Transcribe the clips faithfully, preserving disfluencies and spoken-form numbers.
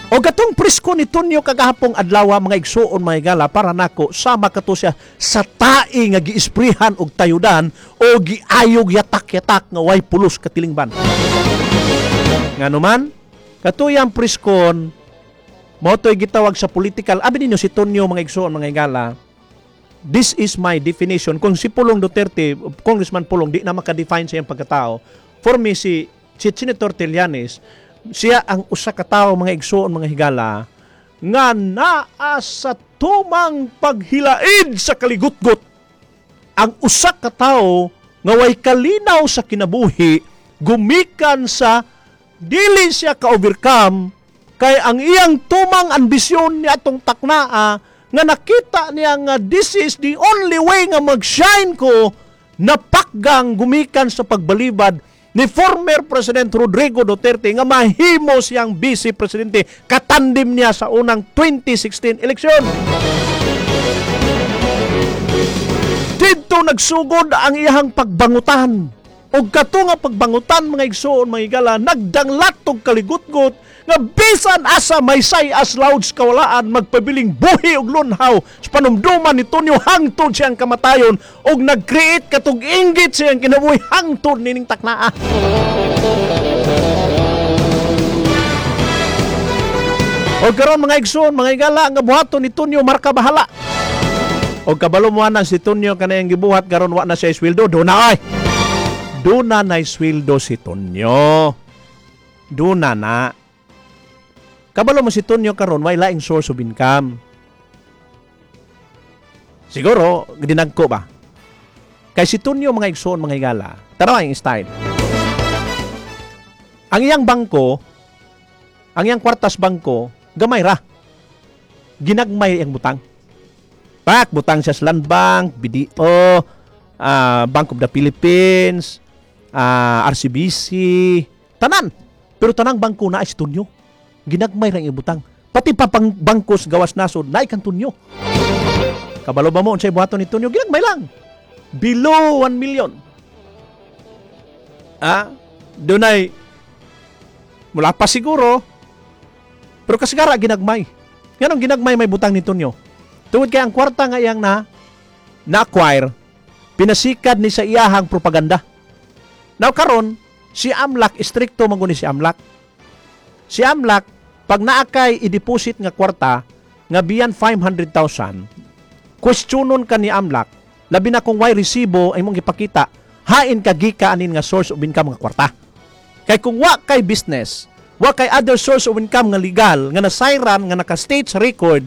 O katong presko ni Tonyo kagahapong adlaw, mga igsuon, mga higala, para nako sama kato siya sa tae nga giisprihan og tayudan o giayog yatak-yatak nga way pulos katilingban. Ngano man katuyang preskon mao to'y gitawag sa political. Abi ninyo si Tonyo, mga igsuon, mga higala, this is my definition. Kung si Pulong Duterte, Congressman Pulong, di na maka-define sa iyang pagkatao, for me, si si Senator Trillanes, siya ang usa ka tawo, mga igsuon, mga higala, nga naa sa tumang paghilaid sa kaligutgot, ang usa ka tawo nga way kalinaw sa kinabuhi gumikan sa dili siya ka-overcome kay ang iyang tumang ambisyon ni atong taknaa nga nakita niya nga this is the only way nga mag-shine ko, napakgang gumikan sa pagbalibad ni former President Rodrigo Duterte nga mahimo siyang vice presidente, katandim niya sa unang twenty sixteen eleksyon. Didto nagsugod ang iyahang pagbangutan. Og kato nga pagbangutan, mga igsoon, mga higala, nagdanglat og kaligutgot nga bisan asa may say as louds kawalaan, magpabiling buhi og lunhaw sa panumduman ni Tonyo hangtod siyang kamatayon og nag-create katong inggit siyang kinabuhi hangtod nining taknaa. Og karon, mga igsoon, mga higala, nga buhaton ni Tonyo marka bahala. Og kabalo mo na si Tonyo kanayang gibuhat karon, wa na siya sweldo, do na ay. Duna na sweldo si Tonyo. Duna na. Kabalo mo si Tonyo karon way laing source of income. Siguro dinagko ba? Kay si Tonyo, mga igsoon, mga higala, tanawa yung style. Ang iyang bangko, ang iyang kwartas bangko, gamay ra. Ginagmay ang butang. Pak, butang siya sa Land Bank, B D O, ah, Bank of the Philippines, ah, R C B C, tanan. Pero tanang bangko na ay si Tonyo. Ginagmay ra ang ibutang. Pati pa pang bangko sa gawas nasod, naay kang Tonyo. Kabalo ba mo unsay buhaton ni Tonyo? Ginagmay lang. Below one million. Ah, dunay mula pa siguro. Pero kasigara ginagmay. Nganong ginagmay may butang ni Tonyo? Tungod kay ang kwarta nga iyang na na-acquire, pinasikad ni sa iyahang propaganda. Now karon, si A M L A C, istrikto man guni si A M L A C. Si A M L A C, pag naa kay i-deposit nga kwarta nga beyond five hundred thousand, questionon ka ni A M L A C, labi na kung way resibo ay mong ipakita, hain ka gika anin nga source of income nga kwarta. Kay kung wa kay business, wa kay other source of income nga legal, nga nasayran, nga naka-state sa record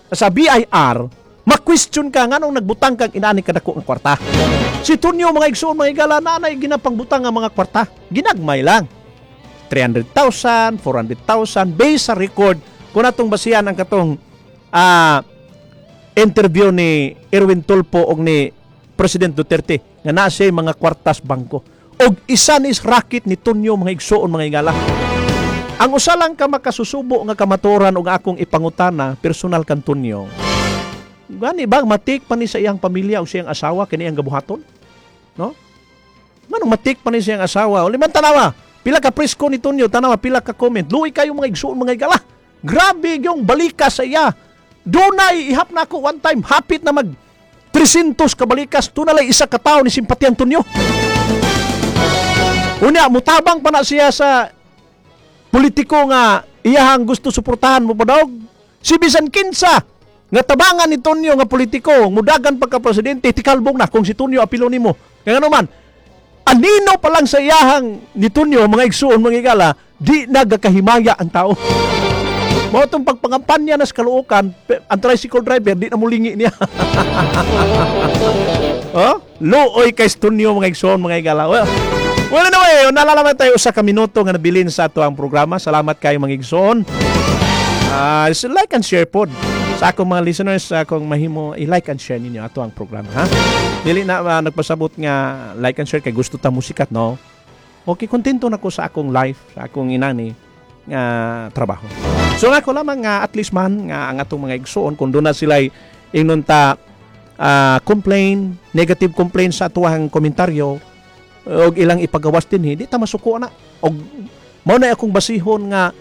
sa B I R, ma-question ka nganong nagbutang kag inani kadako nga kwarta. Si Tonyo, mga igsoon, mga higala, nanay ginapangbutang nga mga kwarta. Ginagmay lang. three hundred thousand, four hundred thousand based sa record kung atong basihan ang katong ah, interview ni Erwin Tulfo og ni President Duterte nga naa siya mga kwartas bangko. Og isa ni racket ni Tonyo, mga igsoon, mga higala. Ang usa lang ka makasusubo nga kamaturan og akong ipangutana personal kan Tonyo. Gani bang matik pa ni sa iyang pamilya o siyang asawa kini ang gabuhaton? No? Nganong matik pa ni siyang asawa? O liman tanawa, pila ka presko ni Tonyo, tanawa pila ka comment. Luoy kayo, mga igsoon, mga higala. Grabe yung balikas sa iya. Dunay ihap na ako one time, hapit na mag three hundred ka balikas, tunalay isa ka tawo ni simpatiyan Tonyo. Unya, mutabang pa na siya sa politiko nga iyahang gusto suportahan mo padog. Si bisan kinsa nga tabangan ni Tonyo nga politiko, mudagan pagka presidente, tikalbong na kung si Tonyo apilo nimo. Kaya nga naman, anino pa lang sa iyahang ni Tonyo, mga igsuon, mga higala, di nagakahimaya ang tao. Mao tong pagpangampanya na sa Caloocan, pe- ang tricycle driver, di na mulingi niya. Oh? Luoy kay Tonyo, mga igsoon, mga higala. Well, well anyway, nalalaman tayo sa ka minuto nga nabilin sa ato ang programa. Salamat kayo, mga igsoon. Ah, so like and share pod. Sa akong mga listeners, sa akong mahimo, i-like and share ninyo ato ang programa, ha? Dili na uh, nagpasabot nga like and share kay gusto ta musikat, no? Okay, kontento na ko sa akong life, sa akong inani nga trabaho. So nga ko lamang nga at least man nga ang atong mga igsoon kung doon na sila ingnon ta ah, complain, negative complaint sa atuang komentaryo og ilang ipagawas dinhi, di ta masuko na. Og mao na akong basihon nga